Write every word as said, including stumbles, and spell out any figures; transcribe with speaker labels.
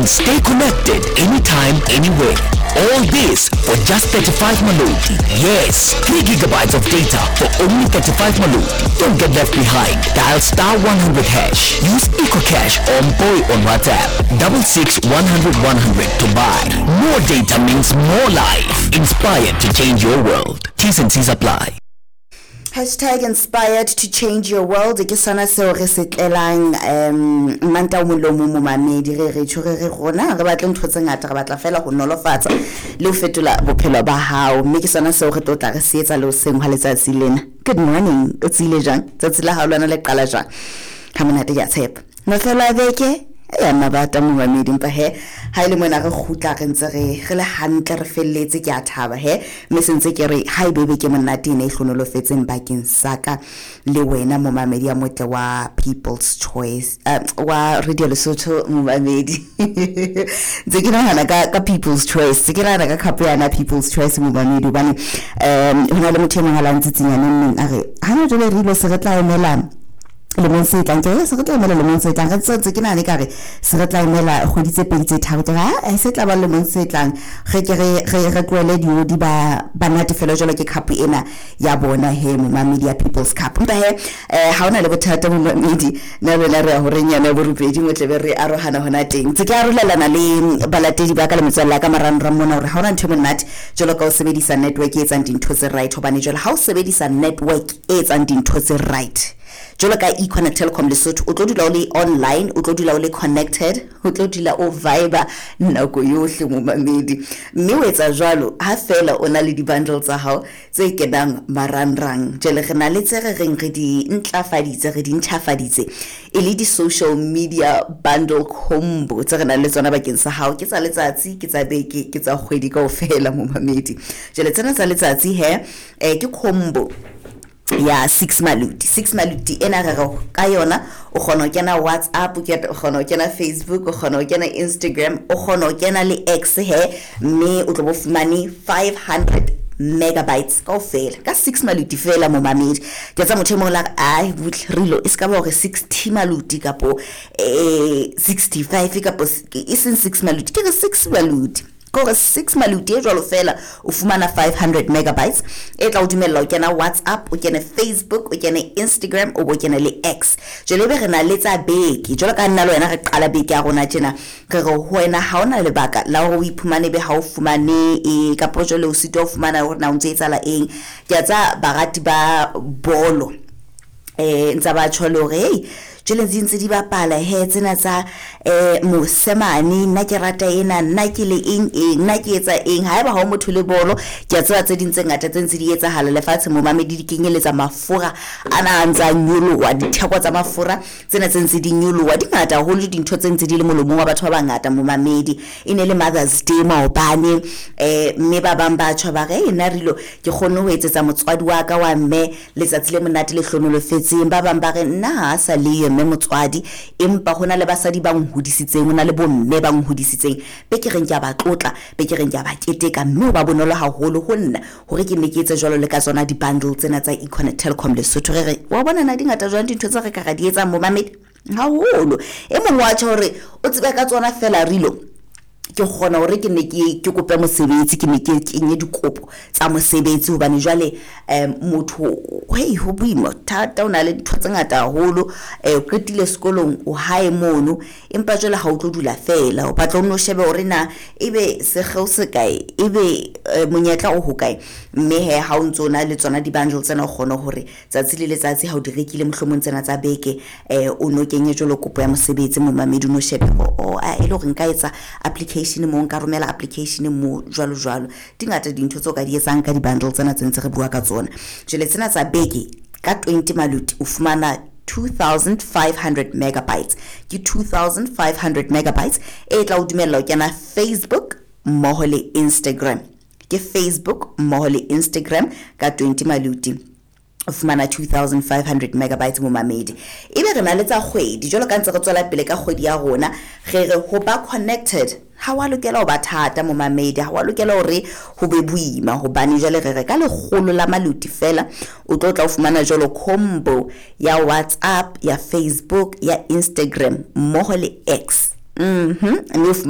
Speaker 1: And stay connected anytime, anywhere. All this for just thirty-five Maloti. Yes, three gigabytes of data for only thirty-five Maloti. Don't get left behind. Dial star one hundred hash. Use EcoCash or Boy on WhatsApp. Double six one hundred one hundred to buy. More data means more life. Inspired to change your world. T's and C's apply.
Speaker 2: Hashtag inspired to change your world ke sona seo re se tlelang um manta o mong le o mong momamedi. Re re tjho re re rona re batle ntho tse ngata, re batla fela ho nolofatsa le ho fetola bophelo ba hao, mme ke sona seo re tlo tla re se etsa le hoseng hwa letsatsi lena. Good morning, o tsile jwang? Tsatsi la hao lona le qala jwang? Ha monate, ke a tshepa mafelo a beke ya mabata momamedi, empa he ha ile mona re kgutla re ntse re re le hantle, re felletse, ke a thaba he, mme se ntse ke re ha e bebe ke monate ene e hlonolofetseng bakeng sa ka le wena momamedi ya motle wa People's Choice, uh, wa Radio Lesotho momamedi. Ntse ke nahana ka ka People's Choice, tse ke nahana ka cup yana People's Choice momamedi, hobane um ho na le motho e mong a la ntsitsinyaneng neng a re ha jwale re ile se re tla emelana lemong se tlang, ke se re tla emela lemong se tlang, re tsotse ke nahane ka re se re tla emela kgwedi tse pedi tse tharo, ke re se tla ba lemong se tlang, re ke re re re tlohele diodi ba ba natefelo jwalo ke cup ena ya bona he momamedi ya People's Cup. Empa he eh ha ona le bothata momamedi, nna le wena re ya horeng yana ya borobedi mo tlebe re arohana hona teng. Tse ke arolelana le balatedi ba ka le metswalle ya ka marangrang mona hore ha ona ntho e monate jwalo ka ho sebedisa network e etsang dintho tse right, hobane jwale ha o sebedisa network e etsang dintho tse right jwalo ka Econet Telkom Lesotho, o tlo dula o le online, o tlo dula o le connected, o tlo dula o vibe nako yohle momamedi. Mme o etsa jwalo ha fela o na le di-bundle tsa hao tse kenang marangrang. Jwale re na le tse re reng re di ntlafaditse, re di ntjhafaditse e le di-social media bundle combo tse re nang le tsona bakeng sa hao, ke tsa letsatsi, ke tsa beke, ke tsa kgwedi kaofela momamedi. Jwale tsena tsa letsatsi he eh, ke combo ya six maluti. Six maluti ena re re ka yona o kgona ho kena WhatsApp, o kgona ho kena Facebook, o kgona ho kena Instagram, o kgona ho kena le X he, mme o tlo bo fumane five hundred megabytes kaofela ka six maluti fela momamedi. Ke tsa motho e mong la re ai butle rilo e ska ba hore sixty maluti kapo eh sixty-five kapo e seng six maluti, ke re six maluti. Kore six maluti e jwalo fela o fumana five hundred megabytes e tla o dumella o kena WhatsApp, o kene Facebook, o kene Instagram, o bo kene le X. Jwale ebe re na le tsa beke jwalo ka nna le wena re qala beke ya rona tjena, re re ho wena ha ona lebaka la hore o iphumane be ha o fumane e kapo jwale o sitwa ho fumana hore na o ntse etsahala eng. Ke a tsa barati ba bolo eh ntsa ba tjho le hore hey jwale di ntse di bapala he tsena tsa eh mosemane, nna ke rata ena, nna ke le eng eng, nna ke etsa eng. Haeba ha o motho le bolo, ke a tseba tse ding tse ngata tse ntse di etsahala lefatshe momamedi, di kenyeletsa mafura ana a ntse a nyoloha, ditheko tsa mafura tsena tse ntse di nyoloha di ngata haholo, dintho tse ntse di le molomong wa batho ba bangata momamedi. E ne le Mother's Day maobane eh mme ba bang ba tjho ba re nna rilo ke kgonne ho etsetsa motswadi wa ka wa mme letsatsi le monate le hlonolofetseng. Ba bang ba re nna ha sa le mme motswadi, empa hona le basadi ba nhodisitseng, hona le bomme ba nhodisitseng, be ke reng ke a ba tlotla, be ke reng ke a ba keteka, mme ho ba bonolo haholo ho nna hore ke nne ke etse jwalo le ka tsona di-bundle tsena tsa Econet Telkom Lesotho. Re re wa bona na di ngata jwang dintho tse re ka ra di etsang momamedi haholo. E mong wa tjho hore o tsebe ka tsona fela rilo ke kgona hore ke ne ke ke kope mosebetsi, ke ne ke kenye dikopo tsa mosebetsi, hobane jwale um motho hey ho boima thata, o na le dintho tse ngata haholo, eh o qetile sekolong o hae mono, empa jwale ha o tlo dula fela, o batla o nno shebe hore na ebe sekgeo se kae, ebe monyetla o ho kae. Mme he ha o ntso na le tsona di-bundle tsena o kgona hore tsatsi le letsatsi ha o di rekile mohlomong tsena tsa beke eh o no kenye jwalo kopo ya mosebetsi momamedi, o no shebe o a e le hore nka etsa application mo, nka romela application mo jwalo jwalo. Di ngata dintho tseo ka di etsang ka di-bundle tsena tse ntse re bua ka tsona. Jwale tsena tsa beke ka twenty maluti o fumana two thousand five hundred megabytes, ke two thousand five hundred megabytes e tla o dumella ho kena Facebook mmoho le Instagram, ke Facebook mmoho le Instagram ka twenty maluti o fumana two thousand five hundred megabytes momamedi. Ebe re na le tsa kgwedi jwalo ka ntse re tswela pele ka kgwedi ya rona, re re ho ba connected ha wa lokela ho ba thata momamedi, ha wa lokela hore ho be boima, hobane jwale re re ka lekgolo la maluti fela o tlo tla o fumana jwalo combo ya WhatsApp, ya Facebook, ya Instagram mmoho le X. Mhm, mme o